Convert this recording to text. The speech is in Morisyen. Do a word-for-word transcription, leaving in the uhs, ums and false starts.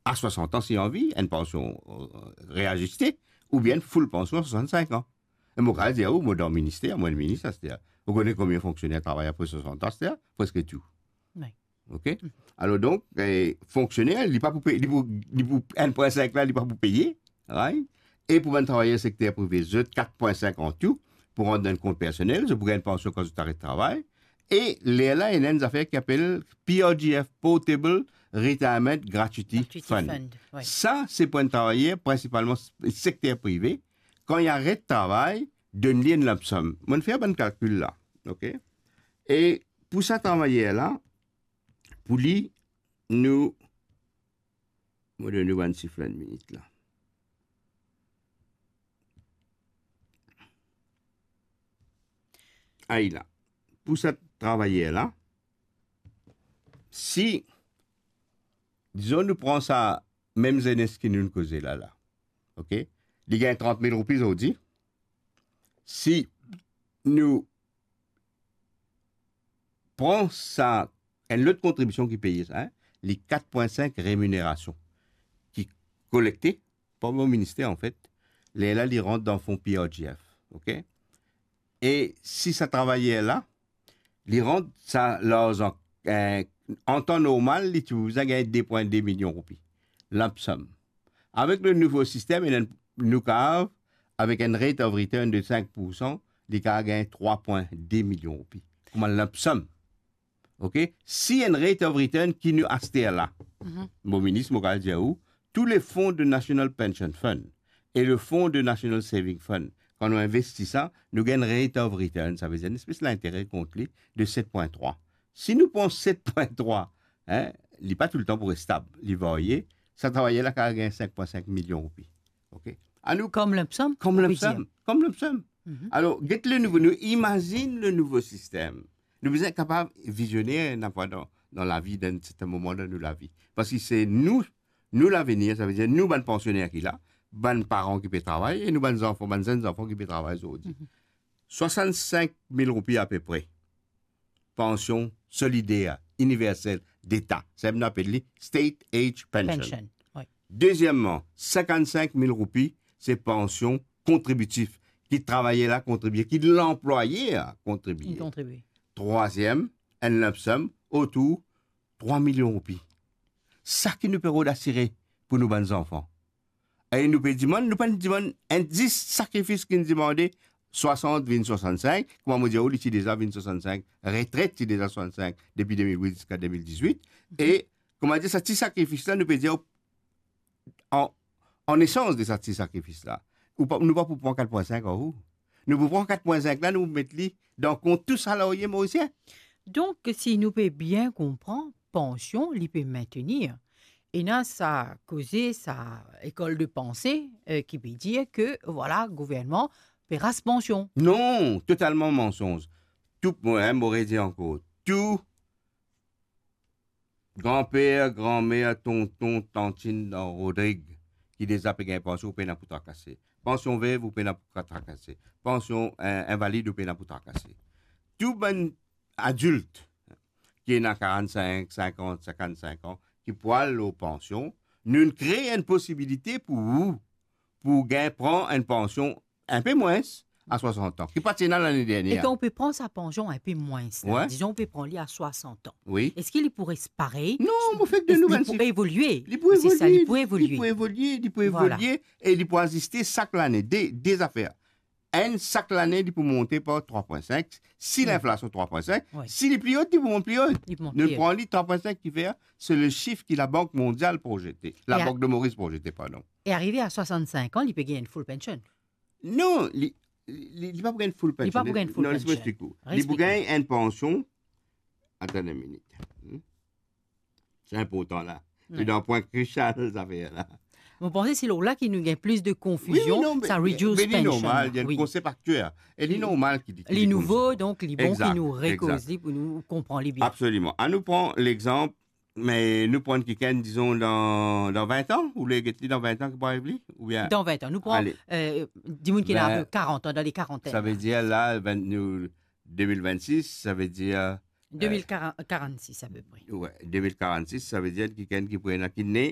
a swasant an, si anvi, enn pansion, eh, reaziste, oubien enn full pansion a swasant-sink an. E mo kapav dir ou, mo dan minister, mo enn minis aster. Ou kone konbien fonksioner travay apre swasant an aster? Preske tou. Wi. Ok? Alor donk, eh, fonksioner, li pa pou pey, li pou, li pou enn pwin sink la, li pa pou peye, right? E pou bann travayer sekter prive, zot kat pwin sink an tou, pou rant dan kont personel, zot pou gagn pansion kan zot aret travay. E lerla, ena enn zafer ki apel P R G F, Portable Retirement Gratuity Gratuity Fund. Fund, wi. Sa, se pou enn travayer, prinsipalman s-, sekter prive, kan li aret travay, donn li enn lump sum. Mo'nn fer bann kalkil la, ok? E pou sa travayer la, pou li, nou, mo donn nou bann sif la, enn minit la. Ay la. Pou sa travayer la, si, dizon nou pran sa mem zenes ki nou'nn koze la la, ok? Li gagn trant mil roupi zordi. Si nou pran sa, enn lot kontribision ki peye sa, hein, li kat pwin sink reminerasion ki kolekte par mo minister, anfet, lerla li rant dan fon P R G F, ok? E si sa travayer la, li rant sa larzan, eh, an tan normal, li ti pou bizin gagn de pwin de milion roupi. Lump sum. Avek le nouvo sistem, ena nou kapav, avek enn rate of return de sink poursan, li kapav gagn trwa pwin de milion roupi. Kouma lump sum. Ok? Si enn rate of return ki nou aster la, Mhm. mo minis, mo kapav dir ou, tou le fon de National Pension Fund e le fon de National Saving Fund, kan nou investi sa, nou gagn rate of return, savedir enn espes lintere kont li de set pwin trwa. Si nou pran set pwin trwa, hein, li pa toultan pou res stab, li varye, sa travayer la kapav gagn sink pwin sink milion roupi. Ok? Anou Kom lump sum, kom ou lump pe dir. Sum, kom lump sum. Mhm. Alor, get le nouvo, nou imazinn le nouvo sistem. Nou bizin kapav vizioner, enn fwa dan, dan lavi, dan sertin moman dan nou lavi. Parski se nou, nou lavenir, savedir nou bann pansioner ki la, bann paran ki pe travay, e nou bann zanfan, bann zenn zanfan ki pe travay zordi. Mhm. Swasant-sink mil roupi apepre. Pansion solider, iniversel, deta. Sa nou apel li State Age Pension. Pension, wi. Dezieman, sinkant-sink mil roupi, se pansion kontribitif, ki travayer la kontribie, ki lanplwayer la kontribie. Li kontribie. Trwaziem, enn lump sum, otour trwa milion roupi. Sa ki nou pe rod asire pou nou bann zanfan. E nou pe dimann, nou pa dimann enn zis sakrifis ki nou dimande, swasant vinn swasant-sink, kouma mo dir ou, li ti deza vinn swasant-sink, retret ti deza swasant-sink depi de mil wit ziska de mil dizwit. Mhm. E, kouma dir, sa ti sakrifis la, nou pe dir, an, an esans de sa ti sakrifis la, ou pa, nou pa pou pran kat pwin sink ar ou. Nou pou pran kat pwin sink la, nou pou met li dan kont tou salariye morisien. Donk, si nou pe bien konpran, pansion, li pe maintenir. Ena sa koze, sa lekol de panse, eh, ki pe dir ke, vwala, gouvernman pe ras pansion. Non, totalman mansonz. Tou, mo, hein, mo redi ankor. Tou granper, granmer, tonton, tantinn dan Rodrig, ki deza pe gagn pansion, ou pena pou trakase. Pansion vev, ou pena pou trakase. Pansion, eh, invalid, ou pena pou trakase. Tou bann adilt ki ena karant-sink, sinkant, sinkant-sink an, ki pou al lor pansion, nou kree enn posibilite pou ou, pou gagn pran enn pansion inpe mwins a swasant an, ki pa ti ena lane dernie. E kan ou pe pran sa pansion inpe mwins la, wi, dizon ou pe pran li a swasant an, wi, eski li pou res parey? Non, mo fer de nou bann sif. Li pou evolie. Li pou evolie, li pou evolie, li pou evolie, vwala, e li pou aziste sak lane. De, de zafer. Enn, sak lane, li pou monte par trwa pwin sink. Si, hmm, linflasion trwa pwin sink, wi, si li pli ot, li pou mont pli ot. Li pou mont pli ot. Nou pran li trwa pwin sink ki fer, se le sif ki Labank Mondial projete. E a- Labank de Moris projete, pardon. E arive a swasant-sink an, li pe gagn enn full pension? Non, li, li, li pa pou gagn full pension. Li pa pou gagn full pension. Non, les mo explik ou. Li pou gagn enn pansion. Atann enn minit. Hmm? Se inportan la. Wi. Se dan pwin krisial, zafer la. Mo panse se lor la ki nou gagn plis de konfizion, wi, wi, non, sa reduced pension la. Wi, wi, non, me, me li normal, li ena enn konsep aktier. E li normal ki, ki li nouvo, donk li bon ki nou rekoz li pou nou konpran li bien. Egzak, egzak. Absoliman. Anou pran lexanp, me nou pran kikenn, dizon, dan, dan vin an, ou le get li dan vin an ki pou ariv li, oubien? Dan vin an. Nou pran, ale, eh, dimoun ki ena, vin, karant an, dan le karantenn la. Savedir la, vin, nou, de mil vinn-sis, savedir, eh, de mil karant-, karant-sis apepre. Wi, de mil karant-sis, savedir kikenn ki pou ena ki ne